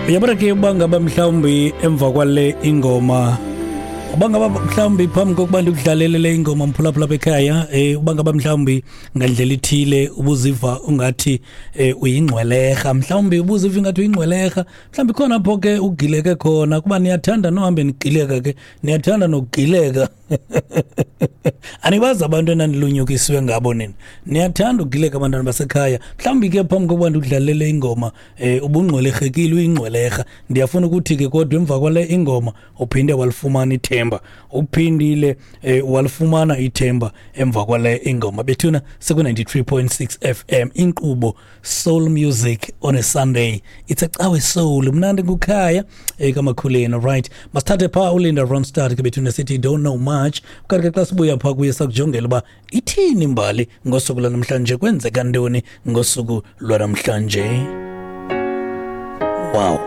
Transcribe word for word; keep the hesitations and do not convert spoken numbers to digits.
Uyabona ke, uba ngaba mhlawumbi emva kwale ingoma, uba ngaba mhlawumbi phambi kokuba ndikudlalele le ingoma, mphulaphula apha ekhaya, um uba ngaba mhlawumbi ngandlela ithile ubuziva ungathi um uyingcwelerha, mhlawumbi ubuziva ingathi uyingcwelerha, mhlawumbi khona apho ke ugileke khona, kuba niyathanda nohambe nigileka ke, niyathanda nokugileka. Anibazi abantu enanilunyukisiwe ngabo nina, niyathanda ukugileka, abantwana basekhaya. Mhlawumbi ke phambi kokuba ndikudlalele ingoma um ubungcwelerhekile, uyingcwelerha. Ndiyafuna ukuthi ke kodwa emva kwale ingoma uphinde walifumana ithemba, uphindile um walifumana ithemba emva kwale ingoma. Bethuna, seku-ninety-three point six F M, inkqubo Soul Music on a Sunday. It's a cawe soul, mnandi ngukhaya ekamakhuleni. Right, masithathe phaa uLinda Ronstadt ke bethuna, sithi "Don't Know Much". Kanti ke xa sibuya phaa kuye, sakujongela uba ithini imbali ngosuku lwanamhlanje, kwenzeka ntoni ngosuku lwanamhlanje. Wow.